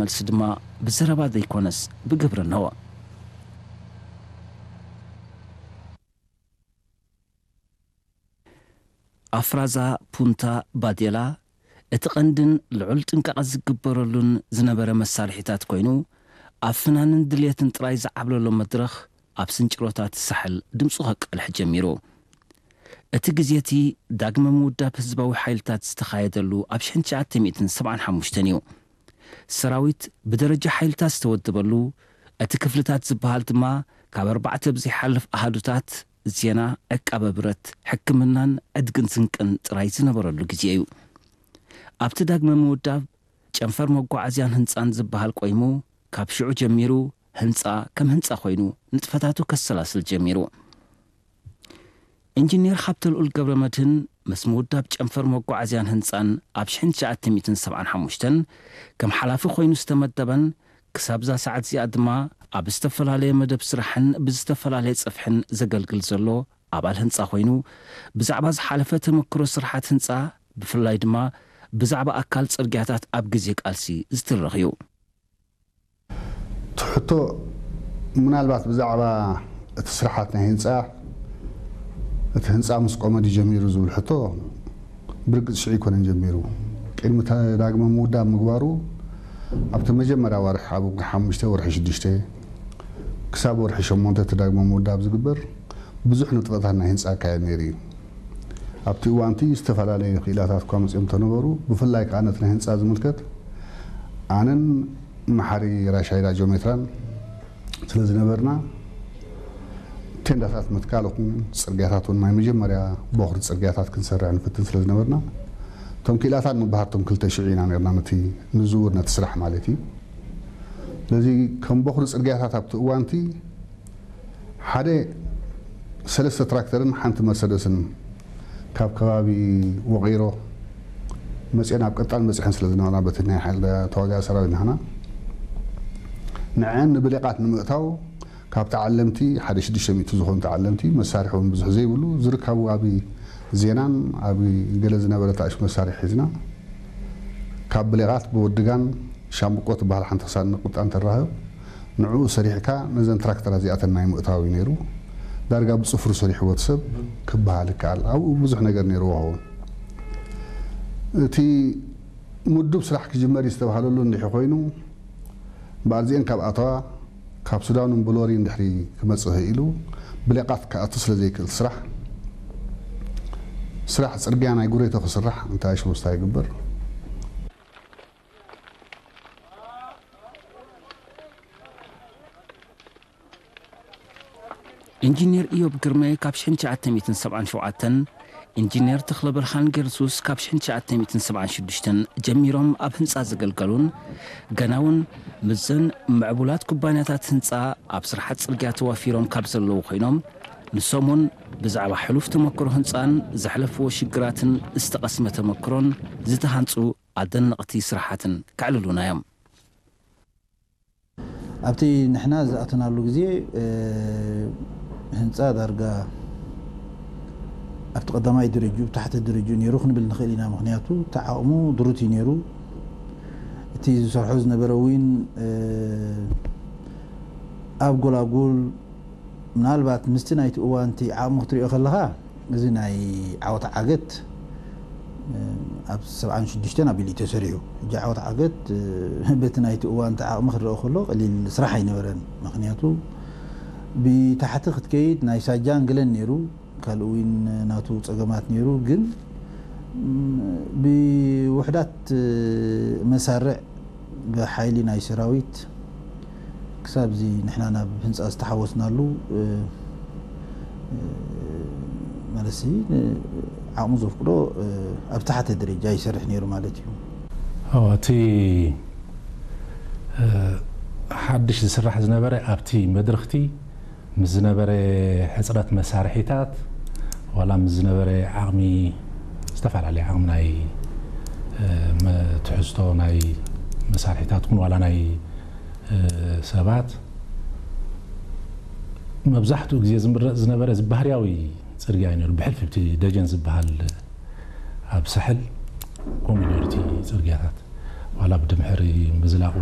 መልሲ ድማ ብዘረባ ዘይኮነስ ብግብሪ እንሆ። ኣፍራዛ ፑንታ ባዴላ እቲ ቀንድን ልዑል ጥንቃቐ ዝግበረሉን ዝነበረ መሳርሒታት ኮይኑ፣ ኣብ ፍናንን ድልየትን ጥራይ ዝዓብለሎ መድረኽ ኣብ ስንጭሮታት ሳሕል ድምፁ ከቃልሕ ጀሚሩ። እቲ ግዜ እቲ ዳግመ ምውዳብ ህዝባዊ ሓይልታት ዝተኻየደሉ ኣብ ሽሕን ትሽዓተ ሚእትን ሰብዓን ሓሙሽተን እዩ። ሰራዊት ብደረጃ ሓይልታት ዝተወደበሉ፣ እቲ ክፍልታት ዝበሃል ድማ ካብ ኣርባዕተ ብዘይሓልፍ ኣሃዱታት ዜና፣ ዕቃበ ብረት፣ ሕክምናን ዕድግን ስንቅን ጥራይ ዝነበረሉ ግዜ እዩ። ኣብቲ ዳግመ ምውዳብ ጨንፈር መጓዓዝያን ህንጻን ዝበሃል ቆይሙ፣ ካብ ሽዑ ጀሚሩ ህንጻ ከም ህንጻ ኮይኑ ንጥፈታቱ ከሰላስል ጀሚሩ። ኢንጂነር ሃብተልኡል ገብረመድህን ምስ ምውዳብ ጨንፈር መጓዓዝያን ህንጻን ኣብ ሽሕን ትሽዓተ ሚእትን ሰብዓን ሓሙሽተን ከም ሓላፊ ኮይኑ ዝተመደበን ክሳብዛ ሰዓት እዚኣ ድማ ኣብ ዝተፈላለየ መደብ ስራሕን ብዝተፈላለየ ጽፍሕን ዘገልግል ዘሎ ኣባል ህንጻ ኮይኑ፣ ብዛዕባ ዝሓለፈ ተመክሮ ስራሓት ህንጻ፣ ብፍላይ ድማ ብዛዕባ ኣካል ጽርግያታት ኣብ ግዜ ቃልሲ ዝትረኽ እዩ። እቲ ሕቶ ምናልባት ብዛዕባ እቲ ስራሓት ናይ ህንፃ፣ እቲ ህንፃ ምስ ቆመ ድዩ ጀሚሩ ዝብል ሕቶ፣ ብርግፅ ሽዑ ኣይኮነን ጀሚሩ። ቅድሚ ተ- ዳግመ ምውዳብ ምግባሩ፣ ኣብቲ መጀመርያ ወርሒ፣ ኣብ ወርሒ ሓሙሽተ፣ ወርሒ ሽዱሽተ ክሳብ ወርሒ ሸሞንተ እቲ ዳግመ ምውዳብ ዝግበር ብዙሕ ንጥፈታት ናይ ህንፃ ይካየድ ነይሩ እዩ። ኣብቲ እዋንቲ ዝተፈላለዩ ክኢላታት እኳ መፂኦም ተነበሩ፣ ብፍላይ ከዓ ነቲ ናይ ህንፃ ዝምልከት ኣነን መሓሪ ራሻይዳ ጆሜትራን ስለ ዝነበርና፣ ቴንዳታት ምትካል ይኹን ፅርግያታት እውን ናይ መጀመርያ ቦኽሪ ፅርግያታት ክንሰርሕ ንፍትን ስለ ዝነበርና፣ እቶም ክኢላታት ንበሃርቶም ክልተ ሽዑ ኢና ነርና፣ ነቲ ንዝውር ነቲ ስራሕ ማለት እዩ። ስለዚ ከም ቦኽሪ ፅርግያታት ኣብቲ እዋንቲ ሓደ ሰለስተ ትራክተርን ሓንቲ መርሰደስን ካብ ከባቢ ወቒሮ መፅአን ኣብ ቀጣል መፅሐን ስለ ዝነበራ በቲ ናይ ሓይሊ ተዋጋኢ ሰራዊት ንሕና ንዐን ንብሌቃት ንምእታው ካብ ተዓለምቲ ሓደ ሽዱሽተ ሚእቲ ዝኾኑ ተዓለምቲ መሳርሒ እውን ብዙሕ ዘይብሉ ዝርከቡ ኣብ ዜናን ኣብ ገለ ዝነበረ ታእሽ መሳርሒ ሒዝና ካብ ብሌቃት ብወድጋን ሻምብቆ ትበሃል ሓንቲ ክሳድ ንቁጣ እንተራኸብ ንዕኡ ሰሪሕካ ነዘን ትራክተራት እዚኣተን ናይ ምእታው እዩ ነይሩ። ዳርጋ ብፅፍሩ ሰሪሕዎ እቲ ሰብ ክበሃል ይከኣል። ኣብኡ ብዙሕ ነገር ነይርዎ ይኸውን። እቲ ምዱብ ስራሕ ክጅመር እዩ ዝተባሃለሉ እንድሕሪ ኮይኑ በኣርዚኤን ካብ ኣተዋ ካብ ሱዳን እውን ብሎሪ እንድሕሪ ክመፅእ ክኢሉ ብሌቃት ክኣቱ ስለ ዘይክእል ስራሕ ስራሕ ፅርግያ ናይ ጉሬቶ ክስራሕ እንታይ ሽወስታ ይግበር። ኢንጂነር ኢዮብ ግርማይ ካብ ሽሕን ትሽዓተ ሚእትን ሰብዓን ሸውዓተን፣ ኢንጂነር ተኽለብርሃን ገርሱስ ካብ ሽሕን ትሽዓተ ሚእትን ሰብዓን ሽዱሽተን ጀሚሮም ኣብ ህንጻ ዘገልገሉን ገና እውን ምስዘን ምዕቡላት ኩባንያታት ህንጻ ኣብ ስራሓት ጽርግያ ተዋፊሮም ካብ ዘለዉ ኮይኖም፣ ንሶም እውን ብዛዕባ ሕሉፍ ተመክሮ ህንጻን ዘሕለፍዎ ሽግራትን ዝተቐስመ ተመክሮን ዝተሃንጹ ኣደነቕቲ ስራሓትን ከዕልሉና እዮም። ኣብቲ ንሕና ዝኣተናሉ ግዜ ህንፃ ዳርጋ ኣብቲ ቀዳማይ ደረጅኡ ታሕተ ደረጅኡ ነይሩ ክንብል ንኽእል ኢና። ምክንያቱ እቲ ዓቕሙ ድሩት እዩ ነይሩ። እቲ ዝሰርሖ ዝነበረ እውን ኣብ ጎላጉል ምናልባት ምስቲ ናይቲ እዋንቲ ዓቕሚ ክትሪኦ ከለኻ እዚ ናይ ዓወት ዓገት ኣብ ሰብዓን ሽዱሽተን ኣቢሉ እዩ ተሰሪሑ። ሕጂ ዓወት ዓገት በቲ ናይቲ እዋንቲ ዓቕሚ ክረአ ከሎ ቀሊል ስራሕ ኣይነበረን። ምክንያቱ ብታሕቲ ክትከይድ ናይ ሳጃን ገለን ነይሩ፣ ካልእ እውን ናቱ ፀገማት ነይሩ። ግን ብውሕዳት መሳርዕ ብሓይሊ ናይ ሰራዊት ክሳብ እዚ ንሕና ናብ ህንፃ ዝተሓወስናሉ ማለትሲ ዓቕሙ ዘፍቅዶ ኣብ ታሕተ ደረጃ ይሰርሕ ነይሩ ማለት እዩ። ኣዎ፣ እቲ ሓድሽ ዝስራሕ ዝነበረ ኣብቲ መድረኽቲ ምስ ዝነበረ ሕፅረት መሳርሒታት ዋላ ምስ ዝነበረ ዓቕሚ ዝተፈላለየ ዓቕሚ ናይ ትሕዝቶ ናይ መሳርሒታት ኹን ዋላ ናይ ሰባት መብዛሕትኡ ግዜ ዝምረፅ ዝነበረ እዚ ባህርያዊ ፅርግያ እዩ ነይሩ። ብሕልፊ እቲ ደጀን ዝበሃል ኣብ ሳሕል ከምኡ ነይሩ እቲ ፅርግያታት ዋላ ብድምሕሪ ምዝላቑ